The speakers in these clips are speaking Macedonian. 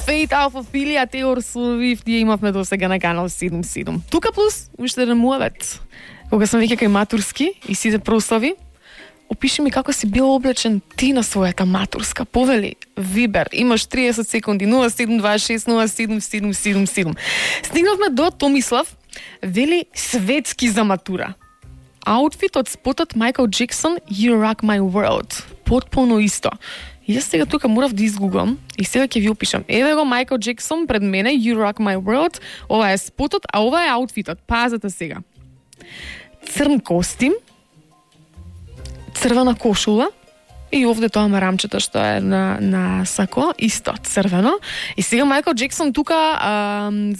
Fate, Алфа-Филија, Тейлор Свифт, тие имавме до сега на канал 77. Тука плюс, уште еден муавет. Кога сам веќе кај матурски и сите прослави, опиши ми како си бил облечен ти на својата матурска. Повели, Вибер, имаш 30 секунди, 0726077777. Стигнавме до Томислав, вели светски за матура. Аутфит од спотот Майкл Джексон, You Rock My World. Потполно исто. И јас сега тука морав да изгуглам и сега ќе ви опишам. Еве го Майкл Джексон пред мене, You Rock My World. Ова е спотот, а ова е аутфитот. Пазете сега. Црн костим, црвена кошула и овде тоа марамчето што е на сако, исто црвено. И сега Майкл Джексон тука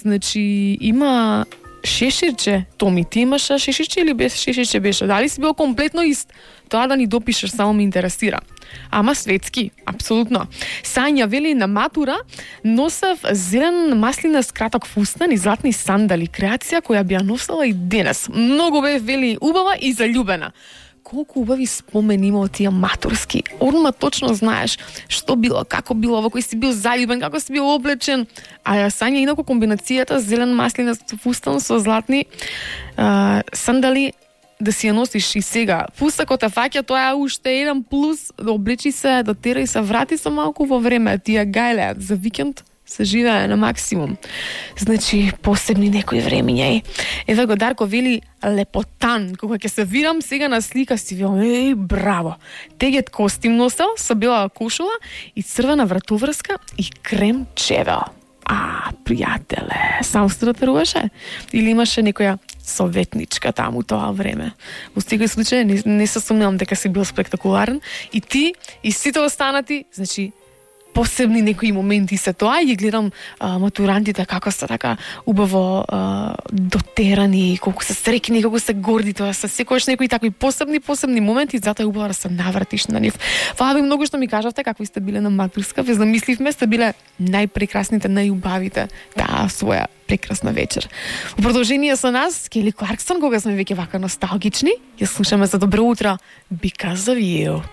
значи има шеширче. Томи, ти имаш шеширче или без шеширче беше? Дали си бил комплетно ист? Тоа да ни допишеш, само ме интересира. Ама светски, апсолутно. Сања вели на матура носев зелен маслинест краток фустан и златни сандали, креација која би ја носела и денес. Многу бе вели убава и заљубена. Колку убави спомени има од тие матурски. Одма точно знаеш што било, како било, во кој си бил заљубен, како си бил облечен. А ја Сања инаку комбинацијата зелен маслинест фустан со златни сандали да си ја носиш и сега. Пусакот те фаќа, тоа е уште еден плюс, да облечи се, да тера и се врати со малку во време. Тие гајле за викенд се живее на максимум. Значи, посебни некои времиња. Еве го Дарко вели лепотан. Кога ќе се видам сега на слика си вели, браво. Тегет костим носел, со бела кошула и црвена вратоврска и крем чевел. Пријателе, сам стратеруваше? Или имаше некоја советничка таму тоа време? Во секој случај не се сумневам дека си бил спектакуларен и ти и сите останати, значи посебни некои моменти се тоа и гледам матурантите како се така убаво дотерани, колку се среќни, колку се горди, тоа се секогаш некои такви посебни моменти, затоа е убаво да се навратиш на нив. Фала ви многу што ми кажавте какви сте биле на матурска, ве замисливме, сте биле најпрекрасните, најубавите таа своја прекрасна вечер. Во продолжение со нас Кели Кларксон, кога сме веќе вака носталгични, ја слушаме за добро утро Because of You.